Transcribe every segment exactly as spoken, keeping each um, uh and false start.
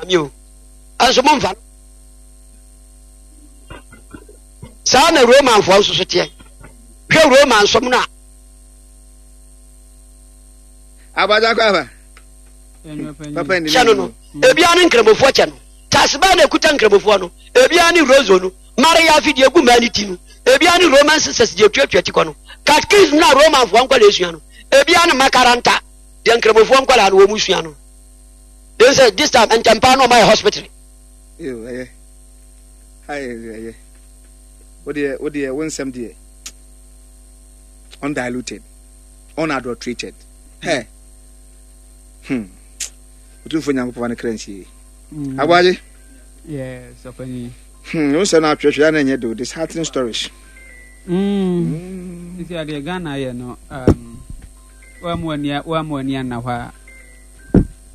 Nyame o. Ɛnso momfa no. Saa na Romanfoɔ nso so teɛ. Hwɛ Roman som no a. Abagya kɔ aba. Papa ndi kyɛ no no. Ebia ne nkramofoɔ kyɛ no. Taase bɛɛ na ekuta nkramofoɔ no. Ebia ne rozo no. Maria afi deɛ egu mmaa ne ti no. Ebia ne Roman sisters deɛ tuatua ti kɔ no. Catechism na Romanfoɔ nkɔla esua no. Ebia ne makaranta deɛ nkramofoɔ nkɔla no wɔn sua no. They say this time ntɛmpa no ɔma yɛ hospital. Yo, ɛyɛ. Ayɛ ɛyɛ. Wo deɛ wo deɛ wo nsɛm deɛ undiluted, unadulterated. Hey. Hmm. Otumfoɔ Nyankopɔn fa ne kra nsie. Mm. Aboagye. Yes, ɔpanyin. Hmm, wo nsɛm no atwerɛtwerɛ na ɛnyɛ do disheartening stories. Mm. Mm. Nti adeɛ Ghana yɛ no um, woammu ani woammu ani anna hɔ a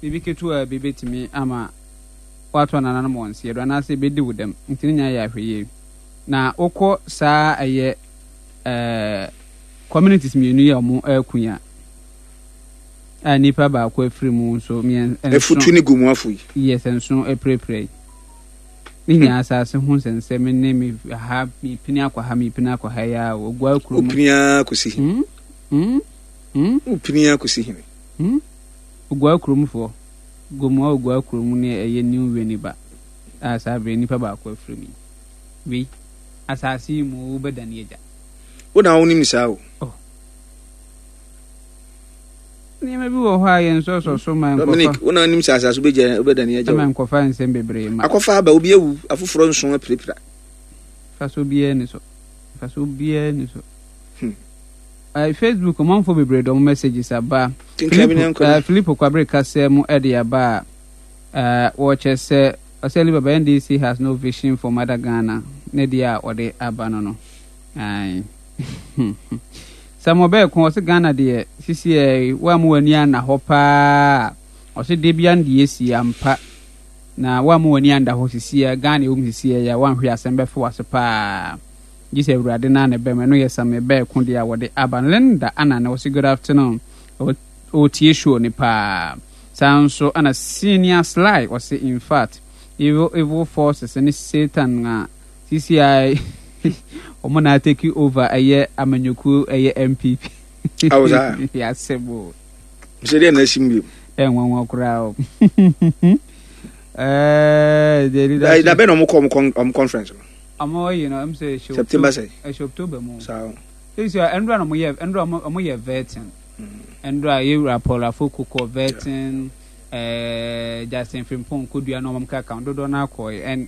biribi ketewa bi bɛtumi ama woato nananom wɔn nseɛ do anaasɛ ɛbɛdi wo dɛm, nti ne nyinaa yɛ ahwɛyie. Na wokɔ saa ɛyɛ ɛɛ communities mmienu yi a wɔn ɛreko yi a a nipa baako afiri mu nso mmiɛnsa Efutu ne Gomuafo yi. Yes, nson apirapira yi. Ne nyinaa asase ho nsɛnsɛm ne me ha mepini akɔ ha mepini akɔ ha yi a ogua kurom. Wopini ara kɔsi hene. Hmm? Hmm? Hmm? Wopini ara kɔsi hene. Hmm? Ogua kuromfoɔ. Gomoa Ogua kurom ne ɛyɛ New Winneba a saa bere nipa baako afiri mu yi. Wei, asase yi mu wobɛdane agya. Wo na wonim saa o. Oh. Nneɛma bi wɔ hɔ a yɛn nsɔsɔ so ma nkɔfa. Dominic, wo na wonim sɛ asase wobɛgya wobɛdane agya o. Ma nkɔfa nsɛm bebree ma. Akɔfa aba, obi awu, afoforɔ nson apirapira. Mfasoɔ biara ni so. Mfasoɔ biara ni so. Hmm. Uh, Facebook ɔmanfoɔ bebree de wɔn messages aba. Kenkan bi na Philip nkɔ uh, Philip Kwabere kasa mu de aba a uh, wɔkyɛ sɛ ɔsɛ Alibaba N D C has no vision for Mother Ghana, ne deɛ a ɔde aba no no. Ae. Samuel Bɛɛko ɔsɛ Ghana deɛ sisi ɛ woammu w'ani anna hɔ paa, ɔsɛ de bia no deɛ esi ampa na woammu w'ani anda hɔ sisi ɛ Ghana ɛwɔ mu sisi ɛ yɛ woanhwɛ asɛm bɛfo w'ase paa gye sɛ Awurade na ne bɛm. Ɛno yɛ Samuel Bɛɛko deɛ a wɔde aba no. Linda Anane wɔsɛ good afternoon, ɔtie show ne paa. Saa nso ɛna Senior Sly ɔsɛ in fact evil evil forces ne Satan a sisi a wɔn na take over ɛyɛ amanyɔkuo ɛyɛ N P P. Awo saa. Yasɛm o. Sɛ deɛ na asim bio. Ɛnwanwa koraa o. ɛɛ the leadership. Da bɛn na ɔmo kɔ ɔmo con- ɔmo conference no? Ɔmo yi no ɛm sɛ ɛhyɛ September sɛ? Ɛhyɛ October mu. Saa o. Sisi a ɛndura na ɔmo yɛ ɛndura ɔmo ɔmo yɛ vetting. Ɛndura yɛwura Paul Afoko kɔ vetting, ɛɛ Justin Frimpong Kodua na ɔmo kaka dodoɔ na akɔ yi, and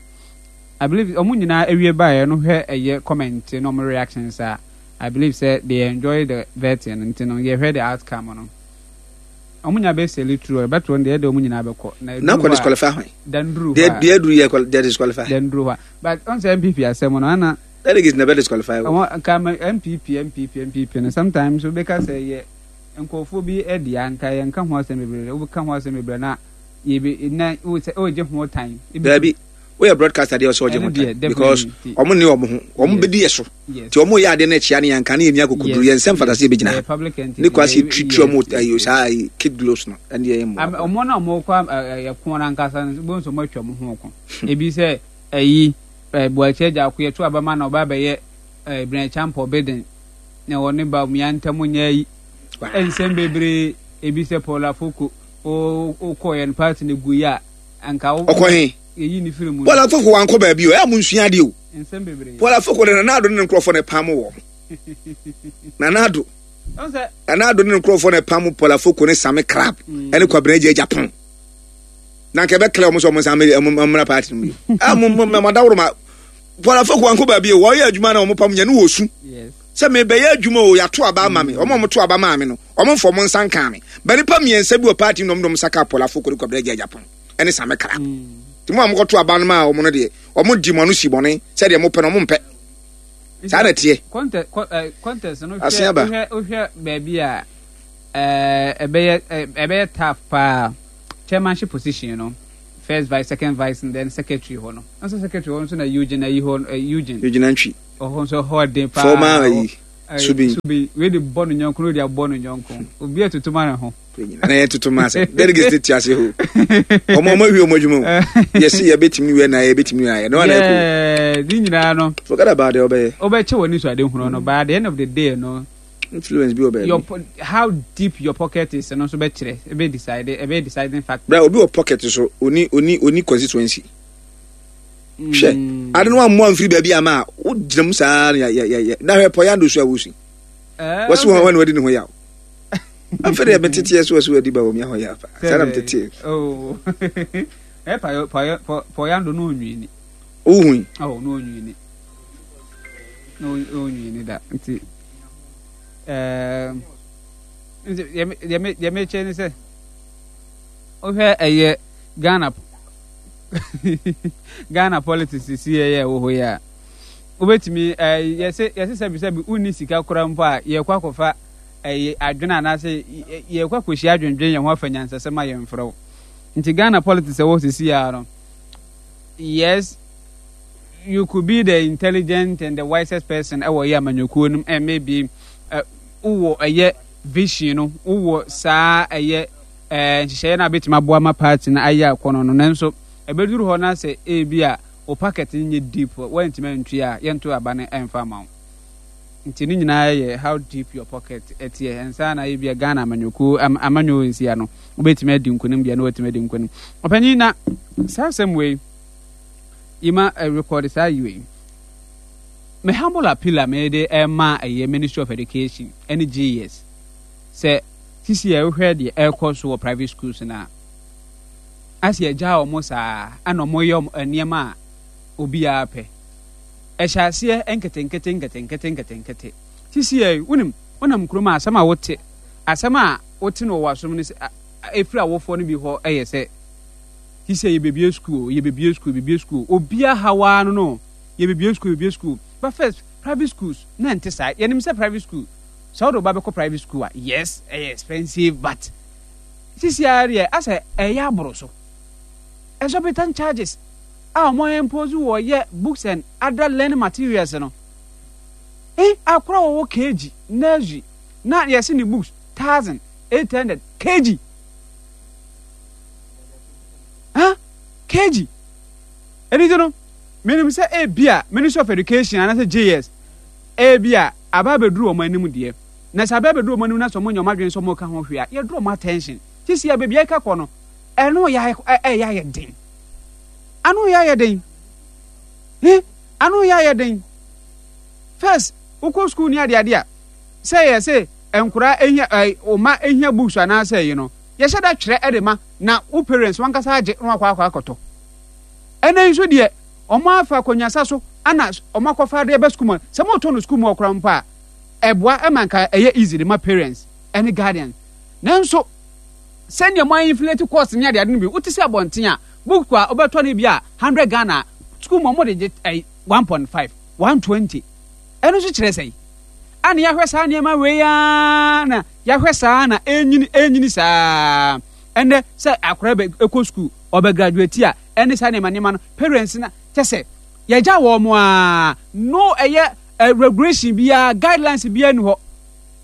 I believe ɔmo nyinaa ewie baeɛ no, hwɛ ɛyɛ comment na ɔmo reactions a, I believe sɛ they enjoy the vetting, nti no yɛhwɛ the outcome no, ɔmo nyinaa bɛ sail through, ɛbɛto no deɛ ɛde ɔmo nyinaa bɛkɔ na Na ɛduru kɔ hɔ a disqualify hwan? Danduru Deɛ hɔ a deɛ aduru yɛ kɔ deɛ disqualify. Danduru hɔ a, but ɔn sɛ N P P asɛm no ana Delegates na bɛ disqualify o. Ɔmo nka ma N P P N P P N P P no, sometimes wobɛka sɛ yɛ nkurɔfoɔ bi ɛde a nka yɛnka ho asɛm bebree, wobɛka ho asɛm bebree na yɛbɛ na wo sɛ ɔregye ho tan. Daabi, woyɛ broadcaster deɛ, ɔsɛ ɔgye ho Ɛno deɛ, tan because definitely. ɔmo ne ɔmo ho ɔmo Yes. bɛdi yɛ so Yes. nti ɔmo yɛ adeɛ no akyia ne yɛnka ne yɛni akokoduru yɛn nsɛm fata sɛ yɛbɛgyina Ɛyɛ ha public entity. ne kwasi Ɛyɛ- tutu ɔmo yes, ayi yes, saa ayi kid gloves no ɛne yɛ Am- mmoa. Ɔmo na ɔmo kɔ ɛko no ankasa no bo nso ɔmo atwa ɔmo ho ko ebi sɛ ɛyi ɛ Buakye agya ako yɛto abama na ɔba abɛyɛ ɛ Bryan Acheampong beden na ɔne ba mmea ntam nyɛ ayi nsɛm bebree ebi sɛ Paul Afoko o okɔ yɛn party no gu yi a anka wo Ɔkɔ he? Yɛyi ne firi mu. Paul Afoko wankɔ baabi o, ɛyɛ mo nsua adeɛ o. Nsɛm bebree. Paul Afoko de, Nana Addo ne ne nkurɔfoɔ na ɛpam wɔ Nana Addo. Ɔn sɛ Nana Addo ne ne nkurɔfoɔ na ɛpam Paul Afoko ne Sami Crab ɛne Kwabena Agya Japan na nka ɛbɛkla ɔmo sɛ ɔmo nsa ɔmo mmra party no mu yi a mo mo mo adaworo ma Paul Afoko wankɔ baabi o, wɔyɛ adwuma na ɔmo pam nyɛ ne wɔ su yes sɛ mebɛyɛ adwuma o, yɛato aba ama me, ɔmo a ɔmo to aba maa me no, ɔmo mfa ɔmo nsa nkaa me ba nipa mmiɛnsa bi wɔ party no na ɔmo de ɔmo nsa kaa Paul Afoko ne Kwabena Agya Japan ɛne Sami Crab, nti mo a mokɔto aba no maa ɔmo no deɛ, ɔmo di mo ano si bɔne sɛdeɛ mopɛ no, ɔmo mpɛ saa na ɛteɛ. contest kɔ ɛ contest no Ase hwɛ aba. Wohwɛ wohwɛ baabi a ɛɛ ɛbɛyɛ ɛ ɛbɛyɛ tough paa, chairmanship position no, first vice, second vice and then secretary hɔ no nso, secretary hɔ nso na Eugene ayi hɔ ɛ Eugene. Eugene Antwi. Ɔhɔ nso ɛhɔ den paa. Former ayi. Subin. Subin wei de bɔ no nyɔnko, wei de abɔ no nyɔnko, obi atutu ma ne ho. Na yɛ tutu ma sɛ delegates te ase hɔ, ɔmo ɔmo awie ɔmo adwuma o, yɛsi yɛbɛtumi wɛ na yɛbɛtumi wɛ ayɛ na wɔn ayɛ ko. Ne nyinaa no, forget about it, ɔbɛyɛ. Ɔbɛkyɛ wɔ ne so ade hunu no, but at the end of the day no, influence bi wɔ baabi. Your how deep your pocket is no nso bɛkyerɛ, ebe decide, ebe deciding factor. Bra, obi wɔ pocket so, oni oni oni constituency. Hwɛ ade no amoa mfiri baabi ama a wogyina mu saa na yɛ yɛ yɛ na hwɛ pɔyando so a wosi wɔsi wɔn wɔn wadi ne ho yaw. Afei deɛ meteteɛ so wɔsi wɔadi ba wɔn ho yaw paa saa na meteteɛ. Ɛ pɔyɔ pɔyɔ pɔyando no onwini. Ohui. Oh, no onwini. No onwini da nti ɛɛ nti deɛ deɛ deɛ mekyɛ ne sɛ wohwɛ ɛyɛ Ghana Ghana politics sisi yɛ ɛwɔ hɔ yi a, wobɛtumi ɛɛ yɛsɛ yɛsɛ sɛbi sɛbi wonni sika koraa mpo a, yɛkɔ akɔfa ɛyɛ adwene anaasɛ yɛkɔ akɔhyia adwendwen yɛn ho afa nyansasɛm a yɛmfrɛ wo. Nti Ghana politics ɛwɔ sisi yɛ no, yes, you could be the intelligent and the wisest person ɛwɔ yɛ amanyɔkuo no and maybe wowɔ ɛyɛ vision no, wowɔ saa ɛyɛ ɛɛ nhyehyɛeɛ no a bɛtumi aboa ma party no ayɛ akɔnɔ no, nanso ɛbɛduru hɔ na sɛ ebi a wo pocket no nyɛ deep, woantumi antua a, yɛnto aba no ɛmfa ma wo. Nti ne nyinaa yɛ how deep your pocket ɛteɛ ɛnsa na ebi a Ghana amanyɔkuo amanyɔ nsia no wobɛtumi adi nkonim deɛ na watumi adi nkonim. Ɔpanyin, na saa asɛm wei yima record saa yi wei, me humble appeal a mede ɛma ɛyɛ Ministry of Education ɛne G E S sɛ sisi a ɛwohwɛ deɛ ɛrekɔ so wɔ private schools na asi agya wɔn saa ɛna wɔn yɛ nneɛma a obiara pɛ, ɛhyɛ aseɛ nketenkete nketenkete nketenkete. Sisi yɛ wonim wonam kurom a, asɛm a wote asɛm a wote no wɔ asom no sɛ efiri awofoɔ no bi hɔ ɛyɛ sɛ sisi yɛ bebie school, yɛ bebie school, bebie school, obiara hawa no no yɛ bebie school, bebie school. But first, private schools na nte saa. Yɛnim sɛ private school, sɛ wode wo ba bɛkɔ private school a, yes, ɛyɛ expensive, but sisi ara deɛ asɛ ɛyɛ aboro so, exorbitant charges a wɔn impose wɔ yɛ books and other learning materials no. Eh, akora wɔwɔ K G, nursery, na yɛsi ne books thousand eight hundred K G, huh? K G. Ɛni ti no, menim sɛ ebi a Ministry of Education anaasɛ G E S ebi a aba abɛduru wɔn anim deɛ, na sɛ aba abɛduru wɔn anim na sɛ wɔn nyɛ wɔn adwene sɛ wɔn ka ho hwee a, yɛduru wɔn attention. Sisi a beebi a ɛka kɔ no, ɛno yɛ ɛyɛ ayɛ den, ano yɛ ayɛ den, he ano yɛ ayɛ den. First, wokɔ school ni adeade a, sɛ yɛ sɛ nkora ehia ɛ ɔma ehia books anaasɛ ɛyi no, yɛhyɛ da twerɛ ɛde ma na wo parents wankasa agye na wakɔ akɔ akɔtɔ. Ɛnɛ nso deɛ, ɔmo afa akonnwasa so ana ɔmo akɔfa adeɛ bɛ school mu. Sɛ mo tɔ no school mu ɔkora mpo a, ɛboa ɛma nka ɛyɛ easy de ma parents ɛne guardians, nanso sɛnea mo inflate cost ne adeade no bi, wote sɛ abɔnten a, book a wobɛtɔ no bi a hundred Ghana, school mu ɔmo de gye ɛyi one point five, one twenty. Ɛno nso kyerɛ sɛ ana yɛahwɛ saa nneɛma wei ara na yɛahwɛ saa na ɛnyini ɛnyini saa. Ɛnɛ sɛ akora bɛ ɛkɔ school, ɔbɛ graduate a, ɛne saa nneɛma nneɛma no, parents na kyɛ sɛ yɛgya wɔn mo a no ɛyɛ ɛ regulation biara, guidelines biara ni hɔ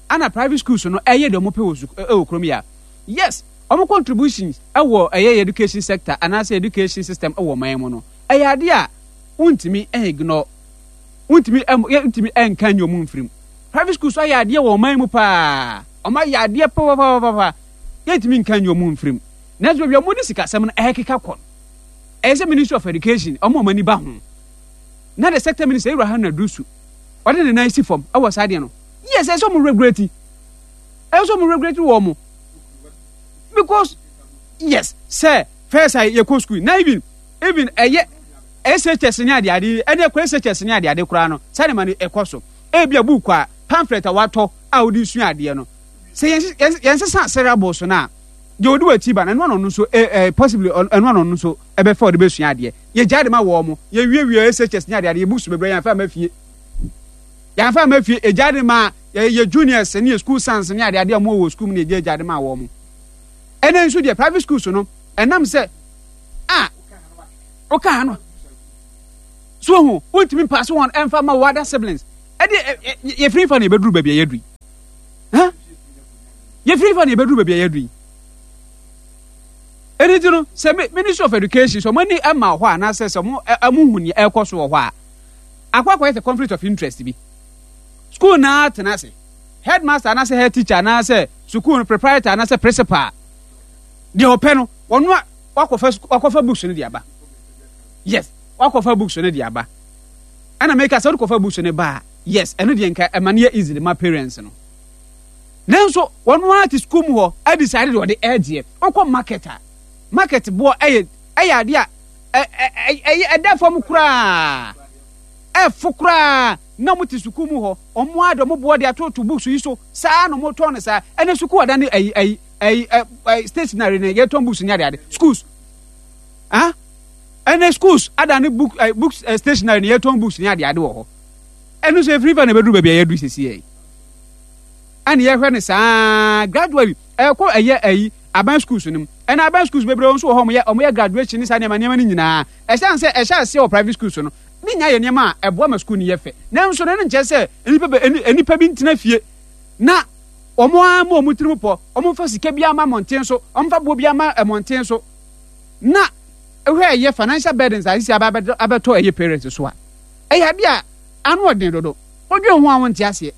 ana private schools no ɛyɛ deɛ ɔmo pɛ wɔ suk ɛwɔ kurom yi a. Yes, ɔmo contributions ɛwɔ ɛyɛ education sector anaasɛ education system ɛwɔ ɔman mu no, ɛyɛ adeɛ a wontumi ignore, wontumi ɛm yɛntumi ɛnka nyɛ ɔmo mfirim. Private schools ayɛ adeɛ wɔ ɔman mu paa, ɔmo ayɛ adeɛ papapapapa, yɛntumi nka nyɛ ɔmo mfirim. Nanso baabi a ɔmo de sikasɛm no ɛkeka kɔ no, ɛyɛ sɛ Ministry of Education ɔmo ɔmo ani ba ho na the sector minister, Ewura Haruna Iddrisu, ɔde ne nan si fam ɛwɔ saa adeɛ no. Yes, ɛsɛ ɔmo regulate, ɛsɛ ɔmo regulate wɔ ɔmo, because yes, sɛ first a yɛkɔ school na even even ɛyɛ S H S ne adeade, ɛne ɛkɔ S H S ne adeade koraa no, saa nneɛma no ɛkɔ so. Ebi a book a pamphlet a watɔ a wode sua adeɛ no, sɛ yɛn yɛn sesa syllabus no a, deɛ ɔde w'akyi ba no, ɛno ano no nso ɛ ɛ possibly ɛno ano no nso ɛbɛfa ɔde bɛsua adeɛ. Yɛgya de ma wɔn mo yɛwiewie S H S ne adeade, yɛ books bebree yɛn fa ma fie, yɛn fa ma fie, egya de ma yɛ yɛ juniors ne yɛ school sons ne adeade a wɔn wɔ school mu ne yɛgya gya de ma wɔn mo. Ɛnɛ nso deɛ, private schools no, ɛnam sɛ a ɔka ha no so ho, wontumi mpaase wɔn ɛmfa ma wɔ other siblings. Ɛde yɛfiri fa na yɛbɛduru baabi a yɛaduru yi. Yɛfiri fa na yɛbɛduru baabi a yɛaduru yi. Ɛno nti no, sɛ Ministry of Education sɛ ɔmo ani ma hɔ a anaasɛ sɛ ɔmo ɔmo hu nea ɛrekɔ so wɔ hɔ a, akɔ akɔyɛ sɛ conflict of interest bi. School naa tena ase, headmaster anaasɛ head teacher anaasɛ sukuu no proprietor anaasɛ principal, deɛ ɔpɛ no, ɔno a wakɔfa wakɔfa books no de aba. Yes, wakɔfa books no de aba. Ɛna meka sɛ wode kɔfa books no ba a, yes, ɛno deɛ nka ɛma no yɛ easily ma parents no. Nanso wɔn ara te sukuu mu hɔ adecide deɛ ɔde ɛregyeɛ. Wokɔ market a, market boɔ ɛyɛ ɛyɛ adeɛ a ɛyɛ ɛda fam koraa, ɛfo koraa na wɔn te sukuu mu hɔ, wɔn ara de wɔn boɔ de atoto books yi so saa na wɔn tɔn no saa. Ɛnɛ sukuu ada ne ɛyi ɛyi ɛyi ɛyi stationery na yɛtɔn books ne adeade schools ah ɛnɛ schools ada ne book ɛɛ books ɛɛ stationery na yɛtɔn books ne adeade wɔ hɔ. Ɛno nso efiri fa na ebeduru baabi a yɛadu sisi yɛ yi. Ɛna yɛhwɛ no saa gradually ɛkɔ ɛyɛ ɛyi aban schools no mu. Ɛna aban schools bebree nso wɔ hɔ wɔyɛ wɔyɛ graduation ne saa nneɛma nneɛma no nyinaa. Ɛhyɛn sɛ ɛhyɛ aseɛ wɔ private schools no ne nyinaa yɛ nneɛma a ɛboa ma school no yɛ fɛ. Nanso no ɛno nkyerɛ sɛ nnipa bɛ nnipa bi ntena fie na wɔn ara mu wɔn tirim pɔ, wɔn mfa sika bi ama mmɔnten so, wɔn mfa boɔ bi ama mmɔnten so na ɛhwɛ ɛyɛ financial burdens a sisi aba abɛtɔ ɛyɛ parents so a ɛyɛ adeɛ a ano ɔden dodo. Wodwen ho a wonte aseɛ.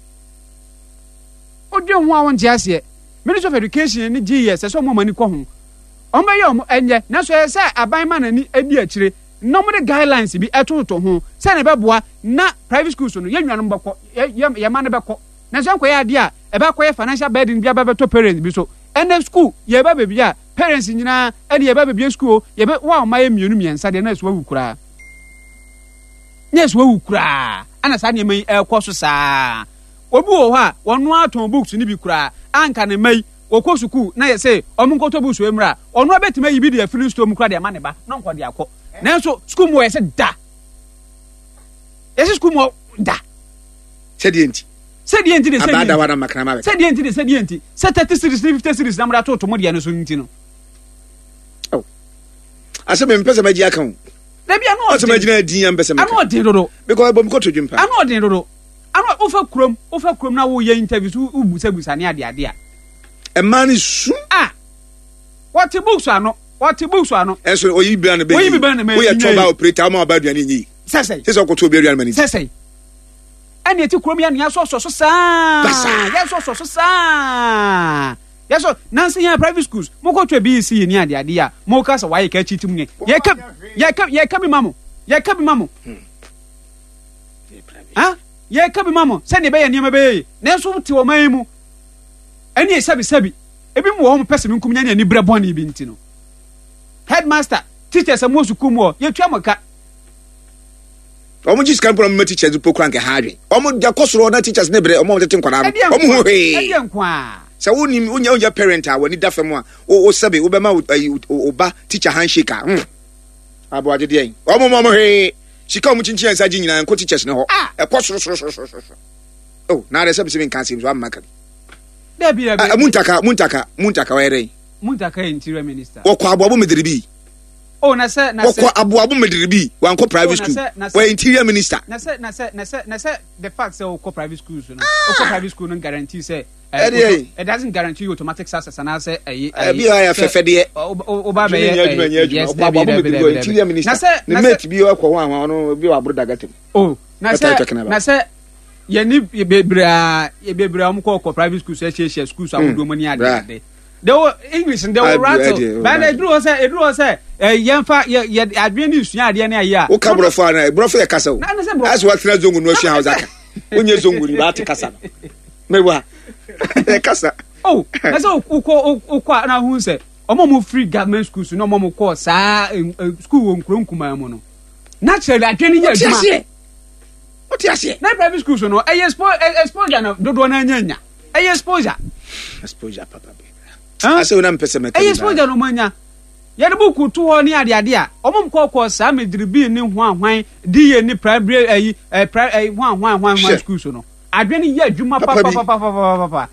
Wodwen ho a wonte aseɛ. Ministry of Education ne G E S ɛsɛ ɔmo ani kɔ ho. Ɔmo bɛyɛ ɔmo ɛnyɛ nanso ɛyɛ sɛ aban ma n'ani adi akyire na ɔmo de guidelines bi ɛtototo ho sɛ na ɛbɛboa na private schools no yɛn nuanom bɛkɔ yɛ yɛ yɛn mma no bɛkɔ nanso ɛnkɔyɛ adeɛ a ɛbɛkɔyɛ financial burden bi aba bɛtɔ parents bi so. Ɛnɛ school yɛba baabi a parents nyinaa ɛne yɛba bɛbie school o yɛbɛ wo a ɔma yɛ mmienu mmiɛnsa deɛ na ɛso awu koraa na ɛso awu koraa ɛna saa nneɛma yi ɛrekɔ so saa. Obi wɔ hɔ a wɔn atɔn books no bi koraa anka ne mma yi wɔkɔ sukuu na yɛ sɛ ɔmo nkɔtɔ books wɔ mmerɛ a ɔno abɛtumi ayi bi de afiri store mu koraa de ama ne ba na ɔnkɔ de akɔ, nanso sukuu mu wɔ yɛ sɛ da yɛ sɛ sukuu mu wɔ da. Sɛdeɛ nti. Sɛdeɛ nti de sɛdeɛ Abadawa na makrama bɛka. Sɛdeɛ nti de sɛdeɛ nti sɛ thirty series ne fifty series na mo de atoto mo deɛ no so nti no. Oh. Asɛ mempɛ sɛ magye aka o. Dabi, ano ɔden. Ɔsɛ magyina adin a mpɛ sɛ meka. Ano ɔden dodo. Because ɛbɔ me kɔtɔ dwem paa. Ano ɔden dodo. Ano wofa kurom wofa kurom na woyɛ interviews wobusabusa ne ade ade a. Ɛmaa ne su. Ah, wɔte books ano wɔte books ano. Ɛnso oyi bi na bɛ yi. Oyi bi na bɛ yi. Woyɛ tɔba operator ɔma ɔba aduane nyi. Sɛsɛn. Sɛsɛ ɔkɔtɔ obi aduane ma ne ti. Sɛsɛn. Ɛna eti kurom yɛ nea sɔsɔ so saa. Yɛ sɔsɔ so saa. Yɛ sɔ nansi yɛn private schools mo kɔ twɛ B E C ni ade ade a mo ka sɛ wayɛ ka akyi ti mu ne yɛ ka yɛ ka yɛ ka bi ma mo yɛ ka bi ma mo. Ha yɛ ka bi ma mo sɛdeɛ ɛbɛyɛ nneɛma bɛyɛ yi nanso te ɔman yi mu ɛne sɛbi sɛbi ebi mu wɔ hɔ mo pɛ sɛ mi nkum nya ne ani brɛ bɔne bi nti no headmaster teachers a mo wɔ sukuu mu hɔ yɛtua mo ka. Wɔn gye sika mpo na wɔn ma teachers mpo kura nkɛ ha adwen. Wɔn gya kɔ soro na teachers ne brɛ wɔn a wɔtete nkwadaa no. Wɔn ho hwee. Ɛdeɛ nko a. Sɛ wo nim wonya wonya parent a w'ani da fam a wo wo sɛbe wobɛma wo ayi wo ba teacher handshake a hmm aboagye deɛ wɔn mo wɔn hwee sika wɔn kyinkyin nsa gye nyinaa nkɔ teachers ne hɔ ɛkɔ soro soro soro soro soro. Oh na adɛ sɛ bisi mi nka asɛm so amma ka bi. Dabi dabi. Ah, Muntaka Muntaka Muntaka ɔyɛ dɛn? Muntaka yɛ interior minister. Wɔkɔ aboabo medere bi. Oh, na sɛ na sɛ wɔkɔ aboabo medere bi wankɔ private oh, school na sɛ na sɛ wɔyɛ interior minister. Na sɛ na sɛ na sɛ na sɛ the fact sɛ wokɔ private schools no wokɔ private school no guarantee sɛ eh, Ɛdeɛ yi. it doesn't guarantee you automatic success anaasɛ ɛyi Ɛbi a yɛ fɛfɛ deɛ. woba Adwuma bɛyɛ nyɛ adwuma nyɛ adwuma. yes Ɔkɔ dabi aboabo dabi medere bi dabi ɔyɛ interior dabi minister. na sɛ Ne na sɛ mate bi ɔkɔ ho ahwa ɔno bi wɔ aboro dagata mu. Oh, na What are you sɛ talking about? Na sɛ yɛne bebree a bebree a wɔn kɔ kɔ private schools ahyiahyia schools ahodoɔ mu ne ade Bra. ade they will English they will Adu- rattle adu- bɛn na eduru hɔ sɛ eduru hɔ sɛ ɛ yɛnfa yɛ yɛ adwene ne sua adeɛ ne ayɛ a. Woka borɔfo a na borɔfo yɛ kasa o. Na na sɛ borɔfo. Asɛ watena zongo no asua Hausa ka. Wonyɛ zongo ni baate kasa no. Mewa. Yɛ kasa. Oh, na sɛ wokɔ wokɔ a na ahun sɛ ɔmo a ɔmo firi government schools na ɔmo a ɔmo kɔ saa eh, eh, school wɔ nkuro nkumaa mu no naturally adwene yɛ Wote adwuma. aseɛ. Wote aseɛ. Na private schools no ɛyɛ expo ɛ- exposure na dodoɔ no anya nya ɛyɛ exposure. Exposure papa bi. Huh? Asɛ wo na mpɛ sɛ mɛka ɛyɛ bi exposure na ɔmo anya yɛde buku to hɔ ne adeade a ɔmo nkɔkɔ saa mediribi ne hwan hwan D A ne primary ɛyi ɛ pri ɛyi hwan hwan hwan hwan Hwɛ. schools no adwene yɛ adwuma Papa bi. papapapapapapa.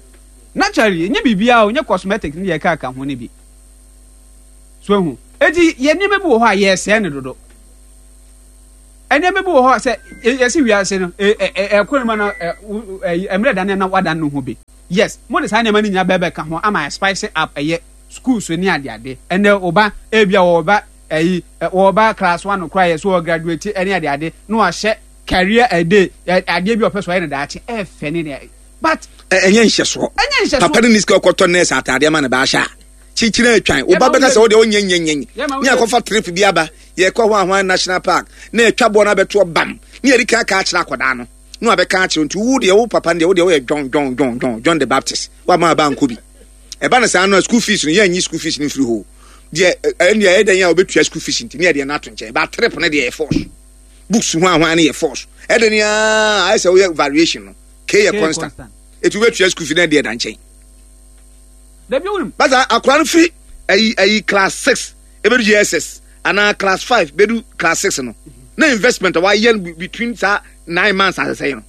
Naturally nye biribiara o nye cosmetic ne yɛ ka ka ho ne bi so ehu eti yɛ nneɛma bi wɔ hɔ a yɛsɛɛ ne dodo. Nneɛma bi wɔ hɔ a sɛ yɛsi wiase no ɛkɔ mu na mmerɛ dane na wadan no ho bi. Yes, mo de saa nneɛma no nyinaa bɛbɛ ka ho ama spice up ɛyɛ schools ne adeade. Ɛnɛ ɔba ebi a wɔba ɛyi wɔba class one koraa yɛ so wɔ graduate ɛne adeade na wahyɛ career ɛde adeɛ bi a ɔpɛ so ɔyɛ no daakye ɛfɛ ne ne but. Ɛnyɛ nhyɛsoɔ. Ɛnyɛ nhyɛsoɔ. Papa no ni sika ɔkɔtɔ nurse ataadeɛ ama ne ba ahyɛ a. Kyikyiri atwan. Wo ba bɛka sɛ wo deɛ wonyɛ nyɛ nyɛ nyɛ. Ne akɔfa trip bi aba. Yɛkɔ hɔ ahoan national park. Na yɛtwa boɔ no abɛtoɔ bam. Ne yɛde kan aka akyerɛ akwadaa no. Na wabɛka akyerɛ nti wo deɛ wo papa no deɛ wo deɛ woyɛ John John John John John the Baptist. Wama aba ankɔ bi. Ɛba no saa no a school fees no yɛnyi school fees no mfiri hɔ. Deɛ ɛne ɛyɛ dɛn a wobɛtua school fees nti ne yɛde no ato nkyɛn. Ba trip no deɛ yɛ force. Books ho ahoan no yɛ force. Ɛdɛn a ayɛ sɛ woyɛ variation no. K yɛ constant. Ɛti wobɛtua school fees no deɛ da nkyɛn. Dabi wonim. Basa akora no firi ayi ayi class six ebedu J S S anaa class five bedu class six no na investment a wayɛ no between saa nine months asesɛ yi no,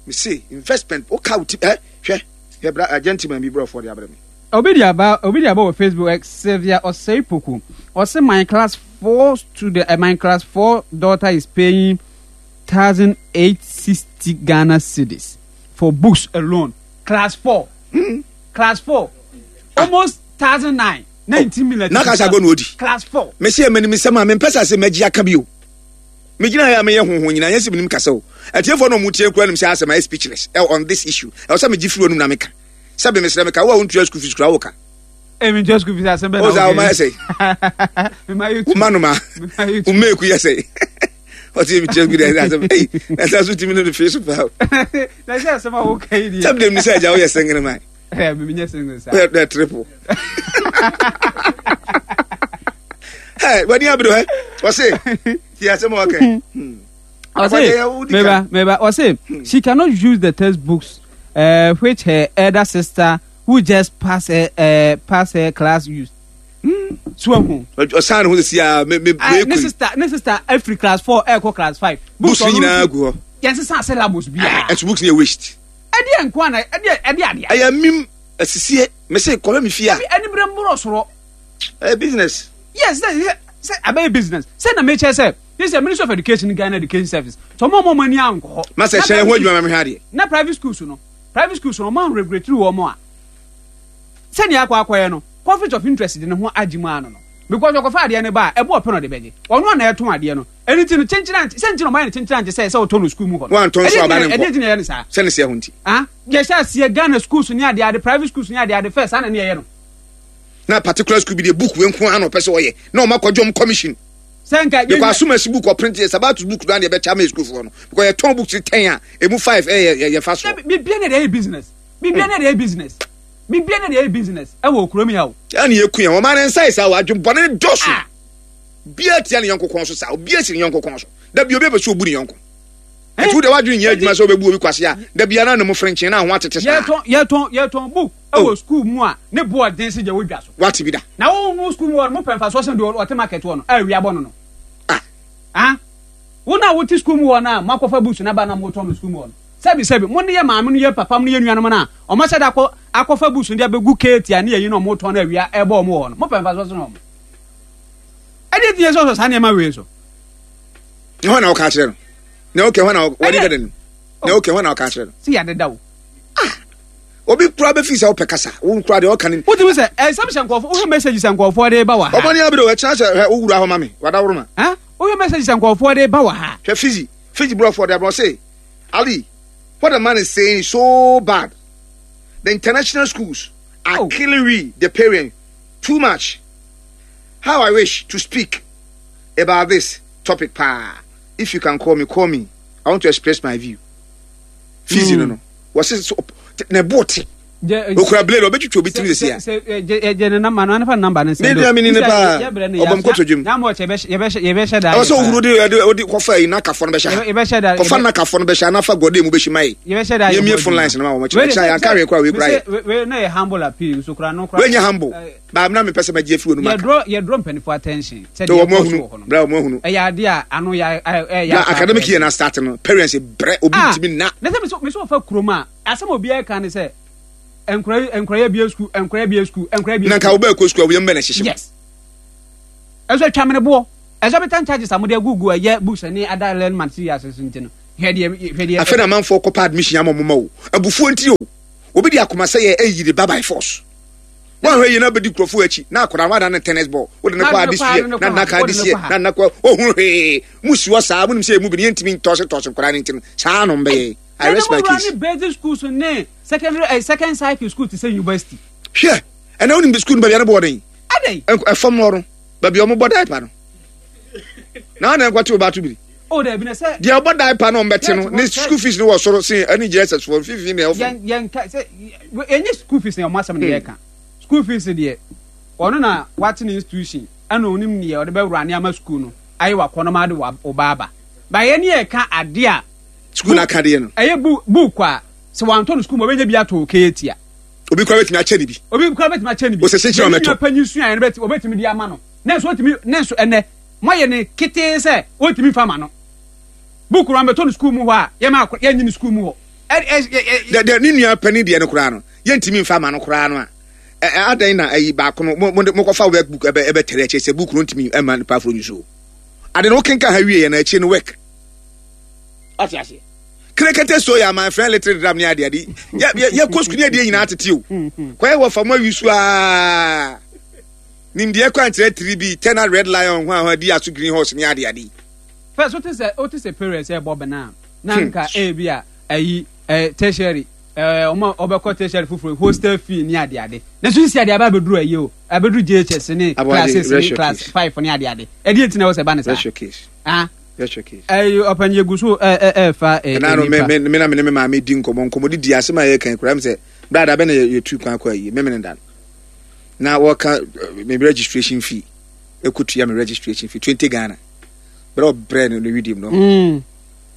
me se investment o ka o ti ɛ hwɛ hwɛ bra a gentleman bi brɔfoɔ de abrɛ me. Obi de aba, obi de aba wɔ Facebook, ɛ Sylvia Osei Poku. Ɔse my class four student, uh, my class four daughter is paying thousand eight sixty Ghana cedis for books alone. Class four. Mm. Class four. Almost thousand nine. Nineteen million. Na kasa agɔ na odi. Class four. Mesi ɛmɛ ni misɛm a mempɛ sɛ ase mɛgye aka bi o. Megyina ha a meyɛ honhom nyinaa nyɛ sɛ menim kasa o. Atiefoɔ na ɔmo tie kura nim sɛ asɛm ayɛ speechless ɛ on this issue. Ɛwɔ sɛ megye firi onum na meka. Sɛ bi mesrɛ meka wo a wontua school fees kura wo ka. Emi ntua school fees asɛm bɛ na wo. Ɔsɛ awoma yɛ sɛ. Mema yɛ tu. Woma noma. Woma eku yɛ sɛ. Ɔte mi tua school fees asɛm. Ei, ɛsɛ so timi no de fee so paa. Na sɛ asɛm a woka yi deɛ. Sɛ bi dem ni sɛ agya woyɛ single man. Ɛ mi nyɛ single sa. Woyɛ dɛ triple. Hey, wani abiri hɛ. Ɔse, ti asɛm a ɔka. Ɔse, meba, meba, ɔse, she cannot use the textbooks uh, which her elder sister who just pass her, uh, pass her class used. Mm. So ahu. Ɔsan ne ho sisi a me me me Ne sister, ne sister every class four ɛkɔ class five. Books ni nyinaa gu hɔ. Yɛn sisan syllabus bi a. Ɛso books ni yɛ waste. Ɛdeɛ nko ana ɛdeɛ ɛdeɛ adeɛ. Ɛyɛ mim asisie mese kɔhwɛ me fie a. Ɛni bere mboro soro. Ɛyɛ business. Yes, sɛ sɛ abɛyɛ business sɛ na mekyɛ sɛ this is Ministry of Education, Ghana Education Service so ɔmo ɔmo ani ankɔ hɔ. Masa hyɛn ho adwuma ma mehwɛ adeɛ. Na private schools no private schools no ɔmo anregulate wɔn a sɛnea akɔ akɔyɛ no, conflict of interest de ne ho agye mu ano no, because ɔkɔfa adeɛ no ba a, ɛbo ɔpɛ na ɔde bɛgye ɔno a na ɛtɔn adeɛ no. Ɛno ti no kyenkyen ante sɛ nti na ɔmo ayɛ no kyenkyen ante sɛ sɛ ɔtɔ no school mu hɔ no. Wantɔ nso aba ne nkɔ. Ɛdeɛ ti na ɛyɛ no saa. Sɛ ne sɛ ho nti. Ah, yɛhyɛ aseɛ Ghana schools ne adeɛ ade, private schools ne adeɛ ade first, saa na ne yɛyɛ no. Na particular school bi deɛ, book wei nko ara na ɔpɛ sɛ ɔyɛ na ɔma kɔgye ɔm commission. Sɛ nka because asomasi book ɔprint yɛ sabatu book do adeɛ bɛkyɛ ama school foɔ no because yɛtɔn books ten a emu five ɛyɛ yɛ yɛfa so. Bibia na ɛyɛ business, bibia na ɛyɛ business, bibia na ɛyɛ business ɛwɔ kurom yi o. Ɛna yɛ kun yɛn wɔn ne nsa yi saa wadwe bɔne ne dɔso bia tia ne yɔnko kɔn so saa obi esi ne yɔnko kɔn so dabi obi apɛ sɛ obu ne yɔnko ɛtu de wadwe nyɛ adwuma sɛ obebu obi kwase a dabi ana ne mo frenkyen na ho atete saa. Yɛtɔn yɛtɔn yɛtɔn book ɛwɔ school mu a ne bo ɔden si gya wɔ dwa so. Wate bi da. Na wo wo school mu wɔ mo pɛ nfa so sɛn deɛ ɔte market wɔ no a ewia bɔ no no. Ah. Ah, wo na wote school mu wɔ no a mo akɔfa books na ba na mo tɔn no school mu wɔ no, sɛbi sɛbi mo ne yɛ maame no yɛ papa mo ne yɛ nuanom no a ɔmo ahyɛ da akɔ akɔfa books no de abɛgu keeti a ne yɛ yi na ɔmo tɔn no awia ɛbɔ ɔmo wɔ hɔ no, mo pɛ nfa so sɛn ɔmo ɛdeɛ ti yɛ sɛ ɔsɔ saa nneɛma wei so. Ne hɔ na ɔka akyerɛ no na ɔkɛ hɔ na wɔde dada no na ɔkɛ hɔ na ɔka akyerɛ no. Si yɛ deda o. Ah, obi kura bɛ fi sɛ ɔpɛ kasa wo kura deɛ ɔka ne. Wotumi sɛ ɛnsɛm hyɛ nkɔfo, wohwɛ message sɛ nkɔfoɔ de ba wɔ ha. Ɔmɔ ni abiri o ɛkyɛn sɛ hwɛ owura hɔ ma mi wadaworo ma. Ah, wohwɛ message sɛ nkɔfoɔ de ba wɔ ha. Hwɛ Fiji Fiji burɔfoɔ de abirɛ ɔse Ali, what the man is saying is so bad. The international schools are oh. killing we the parents too much. How I wish to speak about this topic paa. If you can call me, call me. I want to express my view. Fiji mm. no no wɔsi so na ɛbɔ te okura blade ɔbɛtwitwa obi tiri sisi a. Jɛ ne namba no anafa namba no nsɛm. Ne mi ni ne paa ɔbɔm kɔtɔ dwom. Nyamɔ kyɛ yɛbɛhyɛ da. Ɛwɔ sɛ ohuru de ɛde ɔde kɔfa yi n'akafɔ no bɛhyɛ ha. Yɛbɛhyɛ da. Kɔfa n'akafɔ no bɛhyɛ anafa gɔde mu bɛhyɛ ma yi. Yɛbɛhyɛ da. Yɛmie phone lines no ma wɔn kyerɛ kyerɛ yanka wei kura wei kura yɛ. Wei na yɛ humble appeal nso kura no kura. Wei nyɛ humble. Baa mi na mi pɛ sɛ mɛ gye efi wɔn mu aka. Yɛdrɔ yɛdrɔ mpanyinfoɔ attention. Sɛ deɛ ɛkɔ so wɔ hɔ no. Bra wɔn ahunu. Ɛyɛ adeɛ a ano yɛ ɛyɛ. Na academic year na start no, parents brɛ obi ntumi na. Na sɛ mi so mi so ɔfa kurom a, asɛm a obiara ka ne sɛ nkora nkora yɛ bie sukuu, nkora yɛ bie sukuu, nkora yɛ bie sukuu. Na nka wo bɛɛ kɔ sukuu a, wo yam bɛ na ɛhyehyɛ. Yes, ɛnso atwa mene boɔ Exorbitant charges a mode agugu ɛyɛ books ne other learning materials so nti no, hwɛ deɛ, hwɛ deɛ. Afei na amanfoɔ kɔpɛ admission ama ɔmo ma o. Abufuo nti o. Obi de akoma sɛ yɛ ɛyi de ba by force. Wɔn ahwɛ yie na bɛdi nkurɔfoɔ akyi na akwadaa no wadan ne tennis ball. Wode ne kɔ ade sie na nna ka ade sie na nna kɔ ohun hwee. Mo si hɔ saa mo nim sɛ emu bi no yɛntumi ntɔse tɔse nkwadaa no nti no saa na ɔmo bɛyɛ. I rest my case. Ne basic schools ne secondary eh, second cycle school te sɛ university. Hwɛ ɛnna wonim school no baabi a ne bɔɔ den. Adɛn? Ɛfam hɔ no baabi a wɔbɔ diaper no na ɔna nkɔte ɔba ato biri. O dɛbi na sɛ. Deɛ ɔbɔ diaper no ɔmbɛte no ne school fees no wɔ soro sen ɛne J S S foɔ mfimfini na ɛwɔ fam. Yɛn yɛn ka sɛ ɛnyɛ school fees na ɔmo asɛm na yɛ ka. School fees deɛ, ɔno na wate ne institution ɛna onim deɛ ɔde bɛwura ne ama school no ayɛ wakɔ no ma de wa ɔba aba ba. Yɛn ne yɛ ka adeɛ a school na aka deɛ no. Ɛyɛ book book a sɛ wantɔ no school mu, ɔbɛnya bi atɔ okeetia. Obi kora bɛtumi akyɛ ne bi. Obi kora bɛtumi akyɛ ne bi. Osese kyerɛ ɔmɛtɔ. Ne panyin sua yɛn bɛtumi ɔbɛtumi de ama no ne nso ɔtumi ne nso ɛnɛ moayɛ ne ketee sɛ ɔntumi fa ma no book no ambɛtɔ no school mu hɔ a, yɛma akɔ yɛnyi no school mu hɔ ɛ ɛ ɛ. Dɛ dɛ ne nua panin deɛ no koraa no yɛntumi nfa ma no koraa no a ɛ ɛ adan na ayi baako no mo mo mokɔfa work book ɛbɛ ɛbɛtɛrɛ akyire sɛ book no ntumi ɛma nipa aforo nyi so ade no wokenka ha wie yɛ na akyire no work ɔte aseɛ kerekete so yɛ my friend little drum ne ade ade yɛ yɛ yɛ kɔ sukuu ne adeɛ nyinaa tete o kɔyɛ wɔ fam awi so aa nimdeɛ kwan kyerɛ tiri bi tɛna red lion ho a ho adi aso green horse ne ade ade. First, wote sɛ wote sɛ parents ɛbɔ bena na nka ebi a ɛyi ɛ tertiary ɛɛ ɔmo ɔbɛkɔ tertiary foforɔ, hostel fee ne ade ade na nso sisi ade aba abɛduru ɛyi o, abɛduru J H S ne class six ne class five ne ade ade. Ɛdi eti na ɛwɔ sɛ ɛba ne saa. Rest your case. Ah. Rest your case. Ɛyi ɔpanyin egu so ɛ ɛ ɛɛfa ɛ ɛna no me me me na me ne me maame di nkɔmɔ nkɔmɔ didi asɛm a yɛka kura mi sɛ brada bɛ na yɛtu kwan kɔ ayi memene da no na wɔka me registration fee, ekotua me registration fee twenty Ghana bɛrɛ ɔbrɛ no ne widim no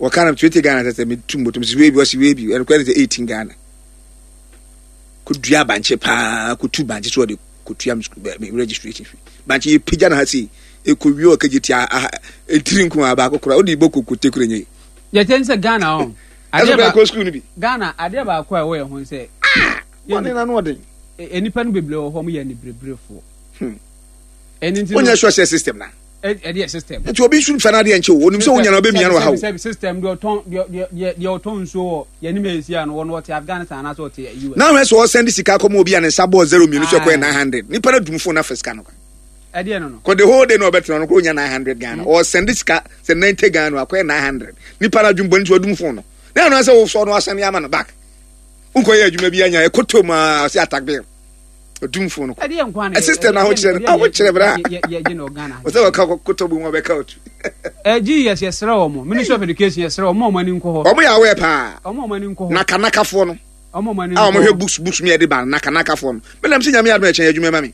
wɔka no twenty Ghana sɛ sɛ metu mbɔtɔm si wei bi ɔsi wei bi ɛno kora ne sɛ eighteen Ghana kodua bankye paa, kotu bankye so ɔde kotua me registration fee. Bankye yɛ pagya na ha sei ekowie ɔkagye tia aha etiri nko a baako kora ɔde bɔ kokote kora nye. Yɛtɛ n sɛ Ghana ɔ ɛso kora kɔ sukuu no bi. Ghana adeɛ baako a ɛwɔ yɛn ho sɛ ɔne na no ɔden. Nipa no bebree wɔ hɔ, ɔmo yɛ anibereberefoɔ. Ɛni nti wonyɛ sure sɛ system na ɛde yɛ system. Nti obi nso nfa n'adeɛ nkyɛn o, onim sɛ wonya na ɔbɛmia no wɔ ha o. Sɛbi system deɛ ɔtɔn deɛ deɛ deɛ ɔtɔn nsuo wɔ yɛn anim esi ano wɔn ɔte Afghanistan anaasɛ ɔte U S. Na ahwɛ sɛ ɔsɛn de sika kɔma obi a ne nsa bɔɔ zero mmienu so ɛkɔyɛ nine hundred, nipa no dum phone na fɛ sika no. Ɛdeɛ no no. Kɔ the whole day na ɔbɛtena no kɔ onya nine hundred Ghana, ɔsɛn de sika sɛ ninety Ghana akɔyɛ nine hundred, nipa no adwum bɔ ne ti ɔdum phone no na ɛno sɛ wosɔ no asan ama no back nkɔyɛ adwuma bi anya ɛkɔtɔ mu a ɔsɛ attack bill ɔdum phone no kɔ. Ɛdeɛ nkwa na system na ahokyerɛ no ahokyerɛ bra yɛ yɛ gye na Ghana. Ɔsɛ ɔka kɔtɔ bu mu ɔbɛka otu. Ɛ G E S, yɛsrɛ wɔn, Ministry of Education, yɛsrɛ wɔn a wɔn ani nkɔ hɔ. Ɔmo yɛ awɛ paa. Wɔn a wɔn ani nkɔ hɔ. Nakanakafoɔ no. Wɔn a wɔn ani a nkɔ wɔn hwɛ hɔ. books books mi yɛ de ba no nakanakafoɔ no mɛnam sɛ Nyame adum ɛkyɛn adwuma ma mi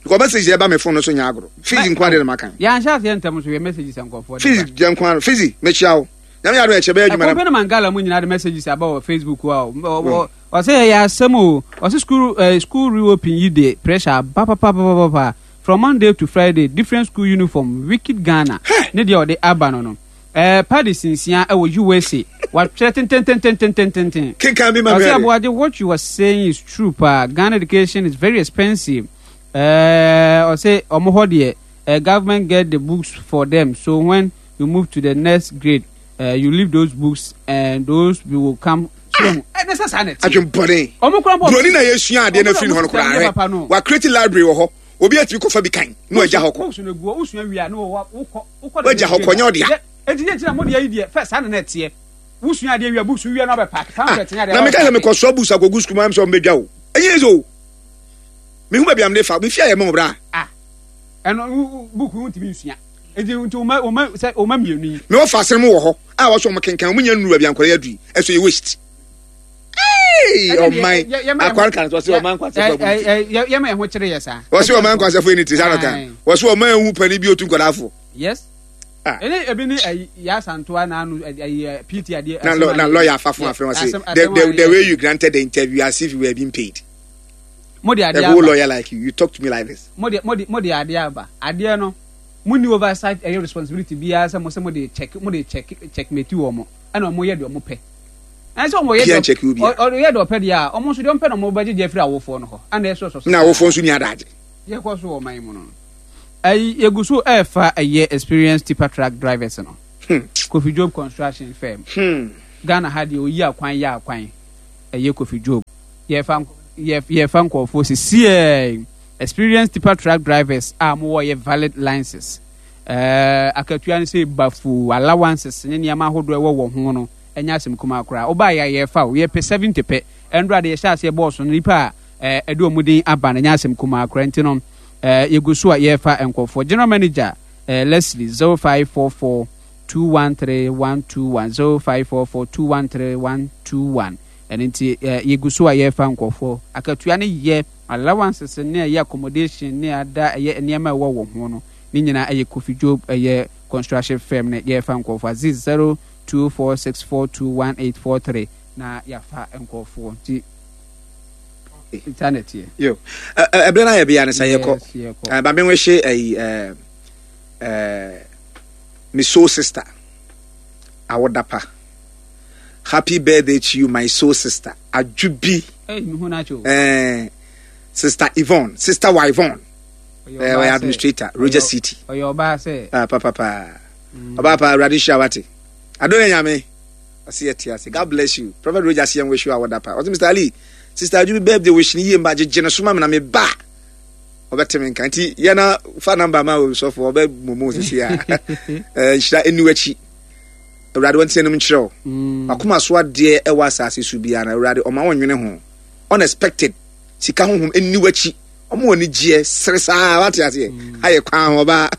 because message yɛ ba mi phone no so nya agorɔ fees nko ade na ma kan. Yɛanhyɛ aseɛ ntɛm so yɛ messages nkɔfoɔ de fees ba. jɛ nko ano fees mekyia wo, Nyame adum ɛkyɛ bɛyɛ adwuma ɛkɔmpɛ na no Mangala mu nyinaa de messages aba wɔ Facebook a ɔ ɔsɛ yɛyɛ asɛm o. Ɔsɛ school uh, school reopen yi de pressure aba papapapapa from Monday to Friday, different school uniform, wicked Ghana. Ne deɛ ɔde aba no no ɛɛ padi sinsia ɛwɔ U S A watwerɛ tententententententen. Kenkan bi ma mi ɔsɛ ade. Aboagye, what you are saying is true paa. Ghana education is very expensive. ɛɛ ɔsɛ ɔmo hɔ deɛ uh, government get the books for them, so when you move to the next grade, uh, you leave those books and those will come so ɛne sɛ saa na ɛte. Adwembɔne. Ɔmo kura bɔ. Buroni na yɛsua adeɛ no afiri ne hɔ no koraa Ɔmo hwɛ papa no. wa create library wɔ hɔ, obi atumi kɔfa bi kan na wagya hɔ kɔ. Books no gu hɔ, wosua wie a na wɔ wokɔ wokɔ. Wagya hɔ kɔ, nyɛ ɔdea. Eti yɛ kyerɛ mo deɛ yi deɛ fɛ saa na na ɛteɛ, wosua adeɛ wie a, books wie na ɔbɛ pack pamphlet ne adeɛ. Na meka sɛ mekɔsoa books akɔgu sukuu mu am sɛ ɔmbɛdwa o, ɛnyɛ sɛ o mehu baabi am de fa mefie ayɛ ma wo bra. Ah, ɛno wo- wo- book wo ntumi nsua eti nti ɔma ɔma sɛ ɔma mmienu yi. Mewɔ fa asɛm wɔ hɔ a wɔsɛ ɔmo kenkan ɔmo nya nnuru baabi ankɔrɔ yɛ adui ɛso yɛ waste. Hey, Ɛne deɛ, ɔman yɛ- yɛma yɛn ho- akware kan sɛ ɔse ɔman nkwasɛfo abu ne ti. Ɛ- ɛ- ɛ- yɛma yɛn ho kyerɛ yɛ saa. Wɔse ɔman nkwasɛfo ɛni ti saa no kan Aye. wɔse ɔman ehu pani bi otu nkɔdaafo. Yes. Ah. Ɛne ebi ne ɛyi yasantoa n'ano ɛyi ɛ P T adeɛ. Na Asɛm lɔ- na adeɛ. lawyer afafo Yeah, afrɛ wɔn asɛm- sɛ the asɛm the adeɛ. the way you granted the interview as if you were being paid. Mo de adeɛ A whole aba. lawyer like you, you talk to me like this. mo de mo de mo de adeɛ aba, adeɛ no mo ni oversight ɛyɛ responsibility biara sɛ mo sɛ mo de check mo de check checkmate wɔ mo ɛna ɔmo yɛ deɛ ɔmo pɛ ɛn sɛ ɔmo yɛ Pia deɛ check wo bia. ɔ- ɔyɛ deɛ ɔpɛ deɛ a ɔmo nso deɛ ɔmo pɛ na ɔmo bɛgye gye afiri awofoɔ no hɔ ɛna ɛsɔ sɔ. Na awofoɔ nso ni adagye. Yɛkɔ so wɔ ɔman yi mu no. Ɛyi yɛgu so ɛɛfa ɛyɛ experienced tipper truck drivers no. Kofi Job Construction Firm. Hmm. Ghana ha deɛ oyi akwan yɛ akwan ɛyɛ Kofi Job. Yɛfa yɛ yɛfa nkɔɔfoɔ sisiɛ experienced tipper truck drivers a mowɔ yɛ valid licenses. Ɛɛ akatua no sɛ bafu allowances ne nneɛma ahodoɔ ɛwɔ wɔn ho no ɛnyɛ asɛm kumaa koraa. Ɔbaa yɛ yɛfa o, yɛpɛ seventy pɛ. Ɛndora de yɛhyɛ aseɛ bɔɔso no, nipa a ɛɛ ɛde wɔn din aba no ɛnyɛ asɛm kumaa koraa, nti no ɛɛ yɛgu so a yɛrefa nkɔfoɔ. General manager ɛɛ Leslie, zero five four four two one three one two one, zero five four four two one three one two one. Ɛno nti ɛɛ yɛgu so a yɛrefa nkɔfoɔ. Akatua no yɛ allowances ne ɛyɛ accommodation ne ada ɛyɛ nneɛma a ɛwɔ wɔn ho no ne nyinaa ɛyɛ Kofi Job ɛyɛ Construction Firm ne yɛrefa nkɔfoɔ. Aziz, zero two four six four two one eight four three na yɛafa nkɔfoɔ, nti nta na ɛteɛ. Yo, ɛberɛ no ayɛ bia no sɛ yɛkɔ. Yes, yɛkɔ. Ba menwehye ayi ɛɛ ɛɛ me soul sister awodapa. Happy birthday to you, my soul sister Adwobi. Ɛy mehu no akyɛ o. ɛɛ Sister Yvonne, Sister Yvonne. Ɔyɛ ɛɛ ɔbaa ɔyɛ sɛ- administrator Roger ɔyɛ- City. Ɔyɛ ɔbaa sɛ. Ah, papa ɔbaa pa, Awurade hyira wate adone Nyame ɔse yɛte ase. God bless you, Prophet Roger. Seɛ wish you awodapa. Ɔse Mister Ali, Sister Adwobi birthday wish ne yie mba gyegye ne so ma me na me ba ɔbɛte me nka, nti yɛna fa number ma osɔfo ɔbɛ momo sisi a ɛɛ nhyira ɛni w'akyi. Awurade wɔn ti anim nkyerɛ wo Mm. akoma so adeɛ ɛwɔ asase so biara na Awurade ɔma wɔn nwene ho unexpected sika honhom ɛni w'akyi, ɔmo wɔ ni gyeɛ sere saa wate aseɛ ayɛ kwan ho ɔbaa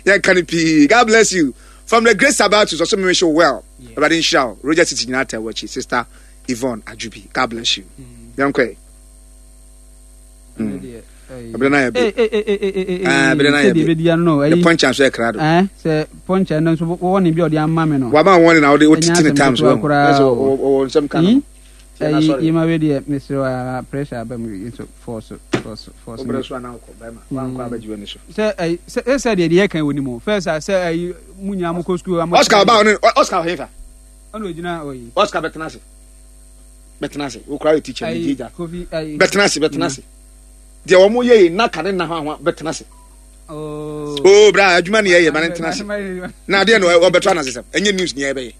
yɛnka no pii. God bless you from the great Sabatus. Ɔso me wish you well. Yeah. Awurade nhyira wo. Roger City nyinaa ta w'akyi, Sister Yvonne Adwobi. God bless you. Yɛnkɔ Ɛno deɛ, ɛyi- ɛberɛ no ayɛ Ee, ee, ee, ee, ee, ee, Ah, ɛberɛ no ayɛ sɛdeɛ be. ɛbɛdi ano no, The ɛyi- punch nso yɛ krado. Ɛn, sɛ pɔnkyɛ no nso wɔwɔ ne bi a ɔde ama me no. Wama wɔn na wode wotete Ɛnyɛ ne asɛm times ketewa wɔ koraa o. ɔwɔ nsɛm ka no. Hmm? Tiɛ na Ɛyi sɔre. yima wei deɛ, mesrɛ wo a, pressure aba mu yi nso force force force. Wobrɛ so anaa wokɔ bɛrima wankɔ abɛgye w'ani so. Sɛ ɛyi sɛ sɛ deɛ deɛ yɛka wɔ ni mu first a sɛ ɛyi mu nyinaa mo kɔ sukuu a mo. Oscar ɔba ɔne Oscar ɔhefa? Ɔna ogyina ɔyi. Oscar, bɛtena ase, bɛtena ase. Wokora yɛ teacher ne Ɛyi gyegya. Kofi ɛyi. Bɛtena ase, bɛtena ase. Deɛ wɔn yɛ yi naka ne nna ho ahoa, bɛtena ase. Oo. Oo, bra adwuma ne yɛyɛ ma ne ntena ase na adeɛ no ɔbɛto anasesɛm ɛnyɛ news ne yɛbɛyɛ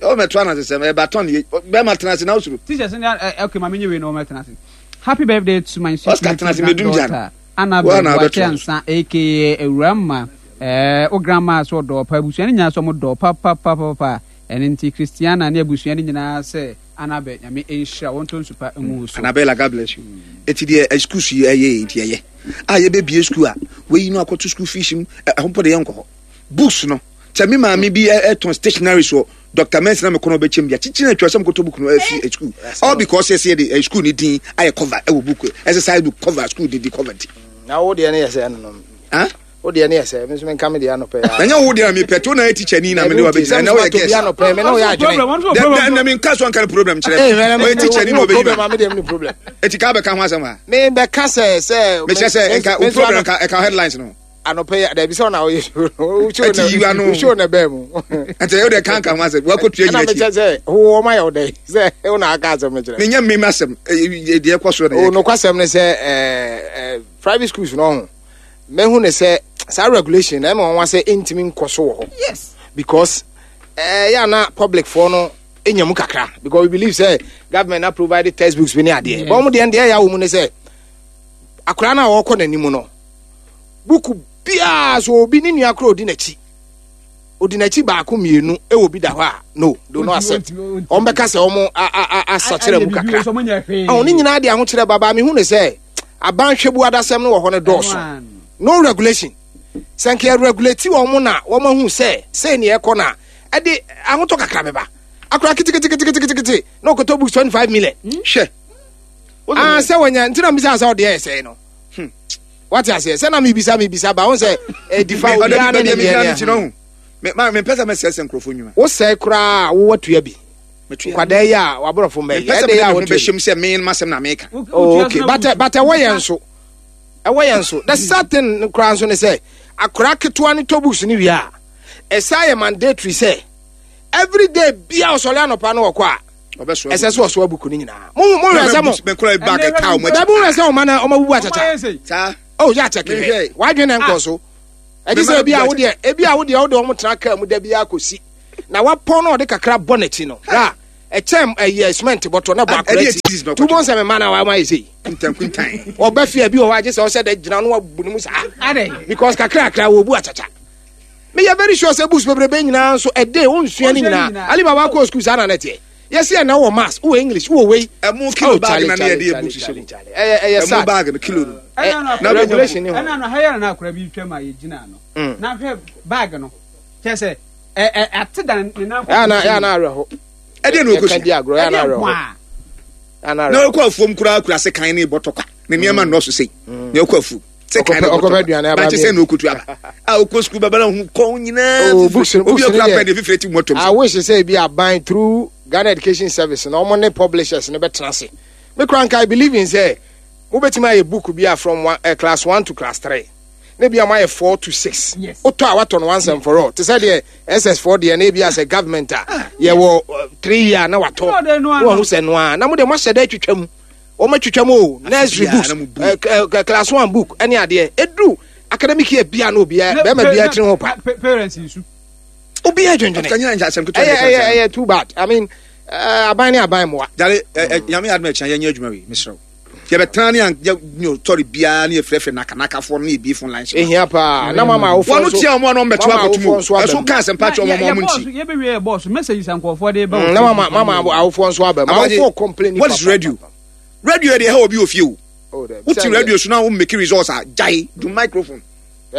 ɔbɛto anasesɛm ɛbatɔn yɛ bɛrima tena ase na wosoro. Teachers ni ɛ, okay, maame nye wei na wɔn tena ase. Happy birthday to my sweet Oscar, tena ase, little medum gya no. granddaughter Annabel Wo na Boakye wobɛto. Ansa, aka Ewuramma. Ɛɛ o, grandma so ɔdɔ pa, abusua no nyinaa so ɔmo dɔ papapapapa. Ɛne nti Christiana ne abusua no nyinaa sɛ Annabel, Nyame nhyira wɔn to nsupa ngu wo so. Annabella, God bless you. Eti deɛ ɛ school so yi ɛyɛ nti ɛyɛ a yɛbɛbie school a wɔyi no akɔto school fees mu ɛ ɛho mpo de yɛnkɔ hɔ. Books no kyɛ me maame bi ɛ ɛtɔn stationery so Doctor Mensa na mekɔ no ɔbɛkyɛm bi a kyikyiri na atwa sɛ mekɔtɔ book no afi ɛ school, all because yɛsɛ yɛde ɛ school ne din ayɛ cover ɛwɔ book, exercise book cover, school de di cover nti. Na wo deɛ no yɛ sɛ ɛno no. Ah. Wo deɛ no yɛ sɛ me nso menka me deɛ anɔpɛ yi a. Na nyɛ wo deɛ na mepɛ to na yɛ teacher ni na mene wa bɛgyina na woyɛ guest. Anɔpɛ me ne woyɛ adwene. Dɛ na menka so anka no problem kyerɛ Eh, me. Ɔyɛ teacher ni na ɔbɛyi problem ma a me deɛ me problem. Eti ka bɛka ho asɛm a Me bɛka sɛ sɛ mekyerɛ sɛ nka wo problem nka ɛka headlines no. Anɔpɛ yi dabi sɛ ɔna woyɛ show no. Wo show Ɛti yiwa na no. wo show na bɛɛ mu. Nti ɛwo deɛ ka nka ho asɛm wakɔtua Ɛna gyina mekyɛ akyi. sɛ wo wɔma yɛ wo dɛ sɛ wo na aka asɛm no kyerɛ. Menyɛ mmem asɛm ɛ, deɛ ɛkɔ so na O yɛka. Nokwasɛm ne sɛ ɛɛ ɛɛ private schools no ho mehu ne sɛ saa regulation na ɛma wɔn wa sɛ ɛntumi nkɔ so wɔ hɔ. Yes. Because ɛɛ yɛ ana public foɔ no enya mu kakra because we believe sɛ government na provide textbooks bi ne adeɛ. Yes. But wɔn deɛ deɛ ɛyɛ awɔ mu ne sɛ akwaraa no a ɔrekɔ n'anim no, buku biara so obi ne nua koro odi n'akyi odi n'akyi baako mmienu ɛwɔ bi da hɔ a, no, do not accept. Wɔn bɛka sɛ wɔn a a a asakyerɛ mu kakra. Ɔn ne nyinaa de ahokyerɛ baba. Mehu ne sɛ aban hwɛbu adasɛm no wɔ hɔ no dɔɔso. No regulation. Sɛ nka yɛ regulate wɔn na wɔn ahu sɛ sɛ nea ɛkɔ na ɛde ahotɔ kakra bɛba. Akora keteketeketekete na ɔkɔtɔ books twenty five million. Hwɛ. Ah, sɛ wɔnya nti na mbisa sɛ ɔde ɛyɛ sɛɛ no, wate aseɛ sɛ na mebisa mebisa ba wɔn sɛ ɛdifa obiara ne ne deɛ deɛ no ho mempɛ sɛ mɛsɛsɛ nkurɔfoɔ nnwuma. Wosɛe koraa a wowɔ tua bi. Metua. Nkwadaa yi a waborɔfo mma yi mempɛ sɛ ɛde mede yɛ a me ho wotua bi. bɛhyɛm sɛ me masɛm na meka. Oh, okay, but but ɛwɔ yɛn so, ɛwɔ yɛn so. The sad thing koraa nso ne sɛ akwaraa ketewa ne tɔ books ne wie a, ɛsa yɛ mandatory sɛ every day bia ɔsɔre anɔpa no wɔkɔ a ɔbɛsoa. Ɛsɛ sɛ ɔsoa book no nyinaa. Mo mo hwɛ sɛ mo mekora bag ɛka wo dabi, mo hwɛ sɛ ɔma na ɔma bubu akyakya. Saa. Oh, yɛ akyɛke hwɛ wadwene na nkɔ so. Ɛgye sɛ ebi a wodeɛ ebi a wodeɛ wode ɔmo tena kaa mu da bi akɔsi na wapɔn na ɔde kakra bɔ n'akyi no ra ɛkyɛm ɛyɛ cement bɔtɔ na bɔ akora akyi tu bɔ nsɛm mma na wama ayɛ sei ɔbɛ fie bi wɔ hɔ agye sɛ ɔsɛ dɛ gyina no wabu ne mu saa because kakra kakra wɔ bu akyakya. Meyɛ very sure sɛ books bebrebe nyinaa nso ɛde onsua ne nyinaa. Alibaba kɔɔ school saa na ne teɛ. Yɛsi ɛna wɔ maths, wɔ English, wɔ wei. Ɛmu kilo bag na ne yɛde yɛ books hyɛ mu. Ɛyɛ ɛyɛ sad. Ɛmu bag no kilo no. Na regulation ni hɔ. Ɛna no hayɛ na akora bi twam a yɛgyina no. Na hwɛ bag no. Kyɛ sɛ ɛ ɛ ate da ne nan. Ɛyɛ na ɛyɛ na awerɛho. Ɛdeɛ na ɔkɔsua. Ɛka di agorɔ ɛyɛ na awerɛho. Na ɔkɔ afuom koraa kura sekan ne bɔtɔ kwa. Ne nneɛma nnɔɔso sei. Na ɔkɔ afuom. Ɔkɔfɛ aduane aba mi sɛ na okutu aba a okɔ sukuu bɛbɛ na ohun kɔn nyinaa obi okura pɛn de fifiri ti mu ɔtɔm. I wish sɛ ebi aban through Ghana Education Service na wɔn ne publishers ne bɛ tena ase. Me kura nka I believe in sɛ mo bɛ tumi ayɛ book bi a from one, uh, class one to class three ne bi a mo ayɛ four to six. Wotɔ a watɔ no once and for all te sɛ deɛ S S four deɛ na ebi asɛ government a yɛ wɔ three year na watɔ na wɔn ho sɛ noa na mo deɛ mo ahyɛ dɛ atwitwa mu. Wɔn atwitwa mu o nursery books uh, class one book ɛne adeɛ edu academic year bia na obiara bɛrima bia tiri ho pa. Parents nsu. Obiara dwendwene. Ɛyɛ ɛyɛ ɛyɛ too bad. I mean aban ne aban mmoa. Jare ɛ nyame adum ɛkyɛn yɛn nyɛ adwuma wi mesrɛw. Yɛbɛtena ne yɛ tɔri biara ne yɛfrɛfrɛ nakanakafoɔ ne yɛbie phone lines. Ehia paa na mama awofoɔ nso. Wɔn tia wɔn a wɔn bɛto akɔtum o. Ɛso kaa sɛ mpakyɛ wɔn wɔn nti. Yɛbɛwie yɛ bɔɔso message sankɔfoɔ de ba. Na mama mama awofoɔ nso aba. Awofoɔ complain. What is radio? Radio de ha obi ofie o. Uti radio so na wo make results a jai do microphone.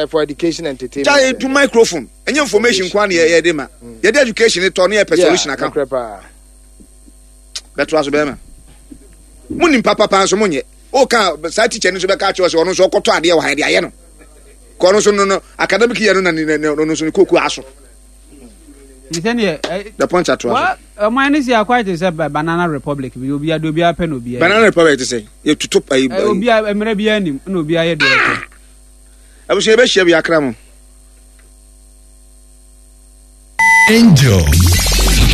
For education and entertainment. Jai do microphone. Any information kwa na ye de ma. Ye de education to na ye solution aka. Beto aso be ma. Munim papa pa so munye. O ka sa teacher ni so be ka che o se ono so okoto ade wo ha de aye no. Ko no so no no academic year no na no so koku aso. The punch at one. Mine is here quite a banana republic. We will be a dobia pen. Banana republic to say you to top a obia a no be a. I was a bit Angel.